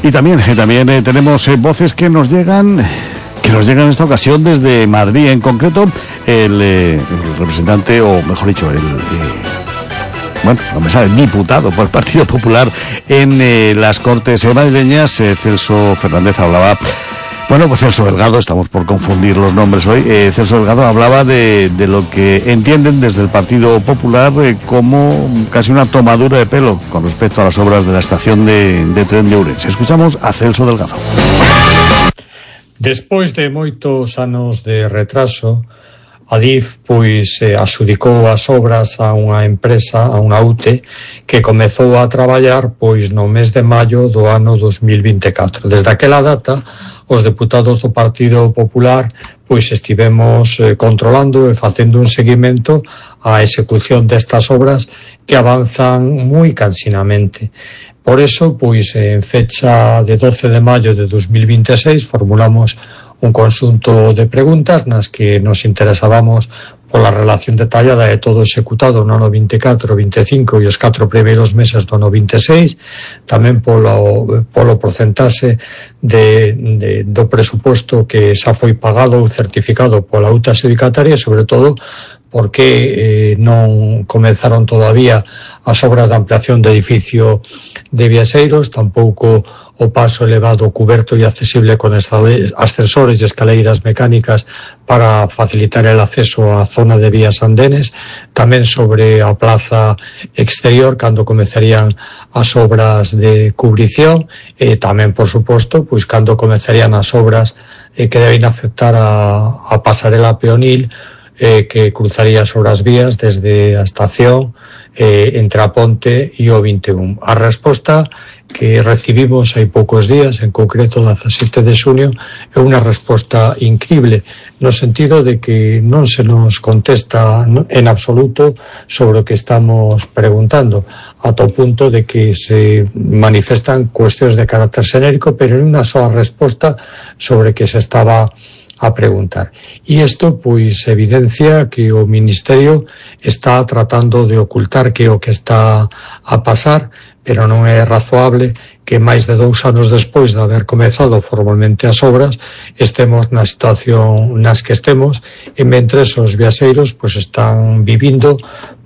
Y también tenemos voces que nos llegan en esta ocasión desde Madrid. En concreto, el representante, o mejor dicho, el diputado por el Partido Popular en las Cortes madrileñas, Celso Fernández, hablaba. Pues Celso Delgado, estamos por confundir los nombres hoy. Celso Delgado hablaba de lo que entienden desde el Partido Popular como casi una tomadura de pelo con respecto a las obras de la estación de tren de Ourense. Escuchamos a Celso Delgado. Despois de moitos anos de retraso, Adif adxudicou as obras a unha empresa, a unha UTE, que comezou a traballar no mes de maio do ano 2024. Desde aquela data, os deputados do Partido Popular estivemos controlando e facendo un seguimento á execución destas obras que avanzan moi cansinamente. Por eso, en fecha de 12 de maio de 2026, formulamos un conxunto de preguntas nas que nos interesábamos pola relación detallada de todo executado no ano 24, 25 e os 4 primeiros meses do ano 26, tamén polo porcentaxe do presuposto que xa foi pagado ou certificado pola UTA adxudicataria, e sobre todo porque non comenzaron todavía as obras de ampliación do edificio de Viaseiros, tampouco o paso elevado, cuberto e accesible con ascensores e escaleiras mecánicas para facilitar el acceso á zona de vías andenes, tamén sobre a plaza exterior cando comenzarían as obras de cubrición, e tamén, por suposto, cando comenzarían as obras que deben afectar a pasarela peonil que cruzaría sobre as vías desde a estación entre a Ponte e o 21. A resposta que recibimos hai poucos días, en concreto 17 de xunio, é unha resposta incrible, no sentido de que non se nos contesta en absoluto sobre o que estamos preguntando, ata o punto de que se manifestan cuestións de carácter xenérico, pero en unha soa resposta sobre que se estaba a preguntar. E isto evidencia que o Ministerio está tratando de ocultar que é o que está a pasar, pero non é razoable que máis de 2 anos despois de haber comezado formalmente as obras estemos na situación nas que estemos, e mentres os viaxeiros están vivindo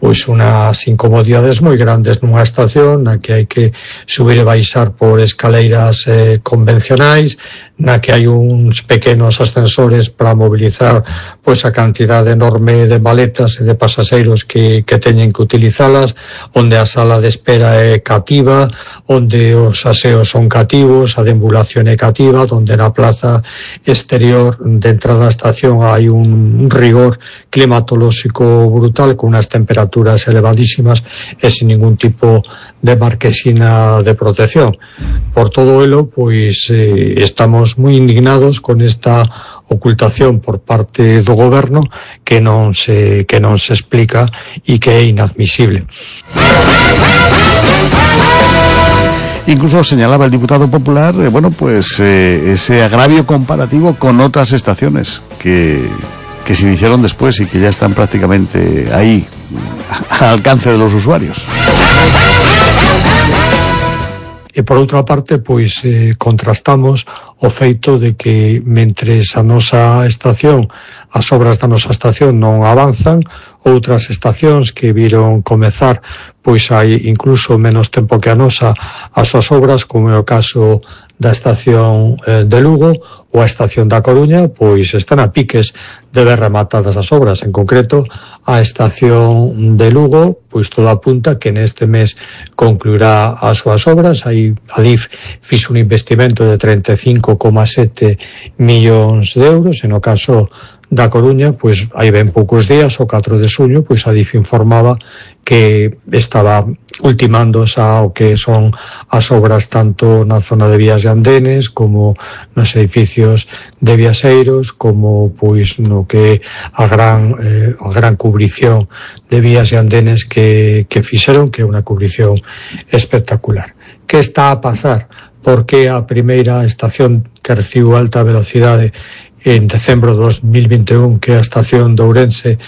unhas incomodidades moi grandes nunha estación na que hai que subir e baixar por escaleiras convencionais, na que hai uns pequenos ascensores para mobilizar a cantidade enorme de maletas e de pasaxeiros que teñen que utilizalas, onde a sala de espera é cativa, onde os aseos son cativos, a deambulación é cativa, onde na plaza exterior de entrada á estación hai un rigor climatolóxico brutal, con unhas temperaturas elevadísimas e sin ningún tipo de marquesina de protección. Por todo elo, estamos moi indignados con esta ocultación por parte do goberno que non se explica e que é inadmisible. Incluso señalaba el diputado popular, ese agravio comparativo con otras estaciones que se iniciaron después y que ya están prácticamente ahí, al alcance de los usuarios. E por outra parte, contrastamos o feito de que mentres a nosa estación, as obras da nosa estación non avanzan, outras estacións que viron comezar hai incluso menos tempo que a nosa as súas obras, como é o caso da estación de Lugo ou a estación da Coruña, están a piques de ver rematadas as obras. En concreto, a estación de Lugo, todo apunta que neste mes concluirá as súas obras. Adif fixo un investimento de 35,7 millóns de euros, e no caso da Coruña, hai ben poucos días, o 4 de xuño, Adif informaba que estaba ultimando xa o que son as obras tanto na zona de vías e andenes como nos edificios de viaxeiros, como no que a gran cubrición de vías e andenes que fixeron, que é unha cubrición espectacular. Que está a pasar? Porque a primeira estación que recibiu alta velocidade en decembro de 2021, que é a estación de Ourense,